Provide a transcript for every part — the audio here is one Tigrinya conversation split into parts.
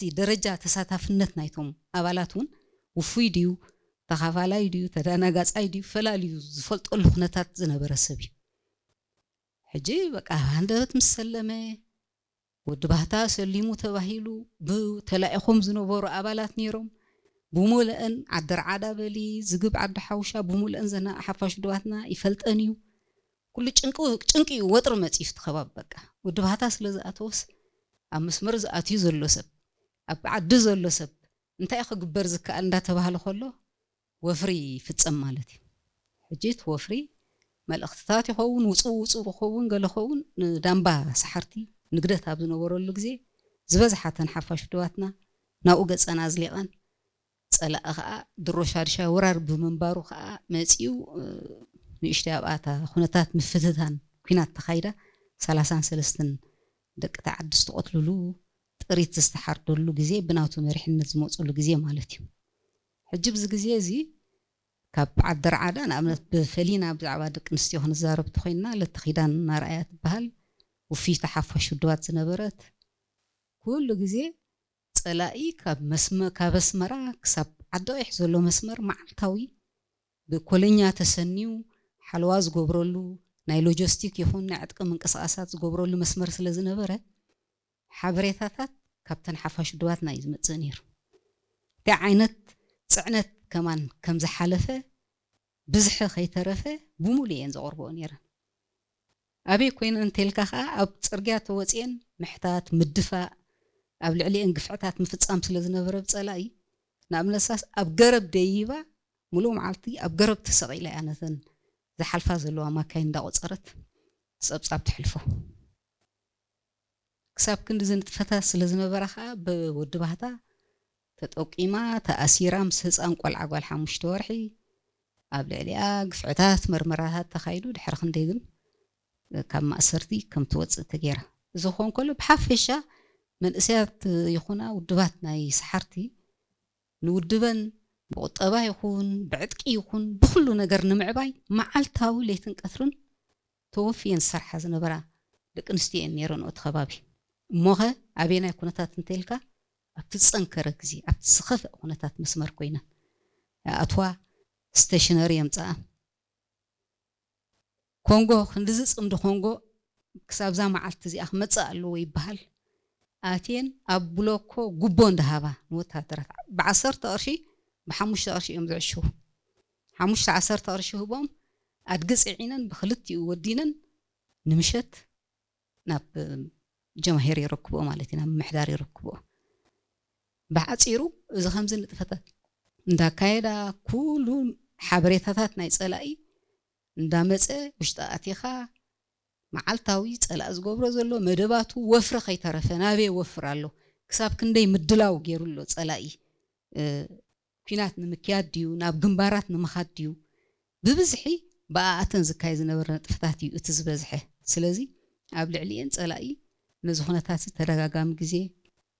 እቲ ደረጃ ተሳታፍነት ናይቶም ኣባላት እውን ውፉይ ድዩ፣ ተኻፋላይ ድዩ፣ ተደናጋጻይ ድዩ፣ ፈላልዩ ዝፈልጠሉ ኩነታት ዝነበረ ሰብ እዩ። ሕጂ በቃ፣ ሃንደበት ምስ ሰለመ፣ ወዲ ባህታ ሰሊሙ ተባሂሉ፣ ብተላኢኾም ዝነበሩ ኣባላት ነይሮም። ብሙልአን ዓዲ ርዓዳ በሊ፣ ዝግብ ዓዲ ሓውሻ፣ ብሙልአን ዘና ሓፋሽ ውድባትና ይፈልጠን እዩ። ኩሉ ጭንቂ፣ ጭንቂ እዩ፣ ወጥሪ መጺኡ እቲ ከባቢ። በቃ፣ ወዲ ባህታ ስለ ዝኣተወስ፣ ኣብ መስመር ዝኣትዩ ዘሎ ሰብ፣ ኣብ ዓዲ ዘሎ ሰብ፣ እንታይ ክግበር ዝከኣል እንዳተባህለ ከሎ፣ ወፍሪ ይፍጸም ማለት እዩ። ሕጂ እቲ ወፍሪ መልእኽትታት ይኸውን፣ ውጹ ውጹ ክኸውን፣ ገለ ኸውን፣ ንዳምባ ሰሓርቲ ንግደት ኣብ ዝነበረሉ ግዜ፣ ዝበዝሓ ተን ሓፋሽ ውድባትና ናብኡ ገጸን ኣዝሊቐን፣ ጸላኢ ኸኣ ድሮ ሻድሻይ ወራር ብምንባሩ ኸኣ መጺኡ፣ እ፣ ንእሽተይ ኣብኣ እታ ኩነታት ምፍትታን ኲናት ተኻይዳ፣ ሰላሳን ሰለስተን ደቂ እታ ዓዲ ዝተቐትልሉ፣ ጥሪት ዝተሓርደሉ ግዜ፣ ብናቱ መሪሕነት ዝመጹሉ ግዜ ማለት እዩ። ሕጂ ብዚ ግዜ እዚ ካብ ዓዲ ርዓዳ፣ ንኣብነት፣ ብፈሊና ብዛዕባ ደቂ ኣንስትዮ ክንዛረብ ተኾይንና፣ ለተ ኪዳን ናርኣያ ትበሃል፣ ውፍይቲ ሓፋሽ ውድባት ዝነበረት፣ ኩሉ ግዜ ጸላኢ ካብ መስመ-፣ ካብ ኣስመራ ክሳብ ዓዲ ቀይሕ ዘሎ መስመር መዓልታዊ ብኮለኛ ተሰንዩ ሓለዋ ዝገብረሉ፣ ናይ ሎጂስቲክ ይኹን ናይ ዕጥቂ ምንቅስቓሳት ዝገብረሉ መስመር ስለ ዝነበረ፣ ሓበሬታታት ካብተን ሓፋሽ ውድባትና እዩ ዝመጽእ ነይሩ። እንታይ ዓይነት ጽዕነት ከማን ከም ዝሓለፈ ብዝሒ ከይተረፈ ብሙሉ እየን ዘቕርብኦ ነይረን። ኣበይ ኮይነን እንተልካ ከኣ፣ ኣብ ጽርግያ ተወጽኤን ምሕታት፣ ምድፋእ፣ ኣብ ልዕሊኤን ግፍዕታት ምፍጻም ስለ ዝነበረ ብጸላኢ፣ ንኣብነትሳስ ኣብ ገረብ ደይባ፣ ሙሉእ መዓልቲ ኣብ ገረብ ተሰቒላ እያ ነተን ዝሓልፋ ዘለዋ ማካይን እንዳቖጸረት ጸብጻብ ተሕልፎ። ክሳብ ክንድዚ ንጥፈታት ስለ ዝነበራ ከኣ፣ ብወዲ ባህታ ተጠቂማ፣ ተኣሲራ፣ ምስ ህጻን ቆልዓ ጓል ሓሙሽተ ወርሒ ኣብ ልዕሊኣ ግፍዕታት፣ መርመራታት ተኻይዱ፣ ድሕሪ ክንደይ ግን ካብ ማእሰርቲ ከም ትወጽእ ተገይራ። እዚ ክኸውን ከሎ፣ ብሓፈሻ መንእሰያት ይኹና ውድባት ናይ ሰሓርቲ ንውድበን ብቁጠባ ይኹን ብዕጥቂ ይኹን ብኹሉ ነገር ንምዕባይ መዓልታዊ ለይትን ቀትርን ተወፍየን ዝሰርሓ ዝነበራ ደቂ ኣንስትዮ እየን ነይረን እቲ ከባቢ። እሞኸ ኣበየናይ ኩነታት እንተኢልካ፣ ኣብቲ ዝጸንከረ ግዜ፣ ኣብቲ ዝኸፍአ ኩነታት መስመር ኮይነን ይኣትዋ፣ ስቴሽነሪ የምጽኣ። ኮንጎ፣ ክንድዚ ጽምዲ ኮንጎ ክሳብ እዛ መዓልቲ እዚኣ ክመጽእ ኣለዎ ይበሃል። ኣትየን ኣብ ብሎኮ ጉቦ እንዳሃባ ንወታደራት፣ ብዓሰርተ ቅርሺ፣ ብሓሙሽተ ቅርሺ እዮም ዝዕሽዉ። ሓሙሽተ ዓሰርተ ቅርሺ ህቦም፣ ኣድጊ ጽዒነን ብክልቲኡ ወዲነን ንምሸት ናብ ጀማሂር የረክብኦ ማለት እዩ፣ ናብ ምምሕዳር የረክብኦ። ብሓጺሩ፣ እዚ ከምዚ ንጥፈታት እንዳካየዳ፣ ኩሉ ሓበሬታታት ናይ ጸላኢ እንዳመጸ፣ ውሽጢ ኣቲኻ መዓልታዊ ጸላኢ ዝገብሮ ዘሎ መደባቱ፣ ወፍሪ ከይተረፈ ናበይ ወፍር ኣሎ፣ ክሳብ ክንደይ ምድላው ገይሩ ኣሎ ጸላኢ፣ እ፣ ኲናት ንምክያድ ድዩ፣ ናብ ግንባራት ንምኻድ ድዩ፣ ብብዝሒ ብኣኣተን ዝካየድ ዝነበረ ንጥፈታት እዩ እቲ ዝበዝሐ። ስለዚ ኣብ ልዕሊኤን ጸላኢ ነዚ ኩነታት እዚ ተደጋጋሚ ግዜ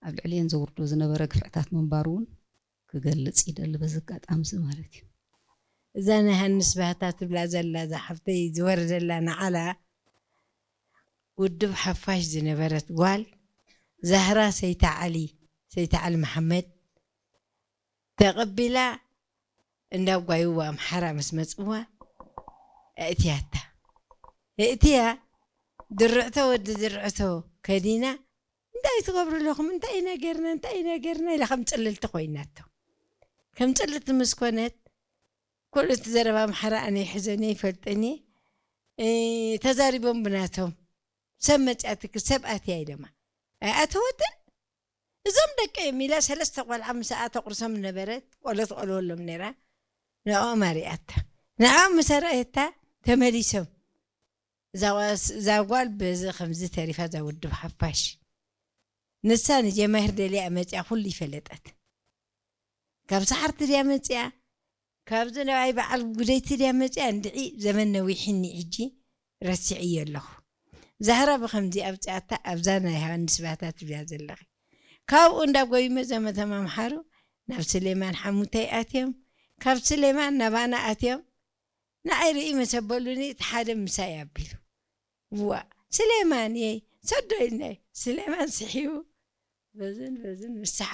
ኣብ ልዕሊኤን ዘውርዶ ዝነበረ ግፍዕታት ምንባሩ እውን ክገልጽ ይደሊ በዚ ኣጋጣሚ እዚ ማለት እዩ። እዛ ናይ ሃንስ ባህታ ትብላ ዘላ እዛ ሓፍተይ ዝወረደላ ንዓላ ውድብ ሓፋሽ ዝነበረት ጓል ዛህራ ሰይታ ዓሊ፣ ሰይታ ዓሊ መሓመድ ተቐቢላ እንዳ ጓይዋ ኣምሓራ ምስ መጽዋ ኣእትያታ። ኣእትያ ድርዕቶ ወዲ ድርዕቶ ከዲና፣ "እንታይ ትገብሩ ኣለኹም? እንታይ ኢና ጌርና? እንታይ ኢና ጌርና?" ኢላ ከም ጽልልቲ ኮይናቶ። ከም ጽልልቲ ምስ ኮነት፣ ኩሉ እቲ ዘረባ ኣምሓራ ኣነ ይሕዘኒ ይፈልጠኒ፣ እ፣ ተዛሪቦም ብናቶም። ሰብ መጽያትክ፣ ሰብ ኣትያ ኢለማ። ኣይኣተወትን። "እዞም ደቂ እዮም" ኢላ ሰለስተ ቆልዓ ምስኣ ተቑርሶም ነበረት፣ ቆሎ ትቆልወሎም ነይራ። ንዕኦም ኣሪኣታ። ንዕኦም ምስ ኣርኣየታ ተመሊሶም። እዛ ጓስ-፣ እዛ ጓል በዚ ከምዚ ተሪፋ፣ እዛ ውድብ ሓፋሽ። ንሳ ንጀማሂር ደልያ መጽያ ኩሉ ይፈለጠት። ካብ ሰሓርቲ ድያ መጽያ? ካብዚ ነባይ በዓል ጉደይቲ ድያ መጽያ? እንድዒ ዘመን ነዊሕኒ ሕጂ ረሲዐዮ ኣለኹ። ዛህራ ብኸምዚ ኣብጽኣታ ኣብዛ ናይ ሃንስ ባታ ትብያ ዘለኺ። ካብኡ እንዳ ጎይመ ዘመተ ኣምሓሩ ናብ ስሌማን ሓሙተይ ኣትዮም፣ ካብ ስሌማን ናባና ኣትዮም፣ ንዓይ ርኢ መሰበሉኒ እቲ ሓደ ምሳይ ኣቢሉ። "ዋ፣ ስሌማን የይ፣ ሰዶ ኢልናይ፣ ስሌማን ስሒቡ፣ በዝን በዝን ንስሓ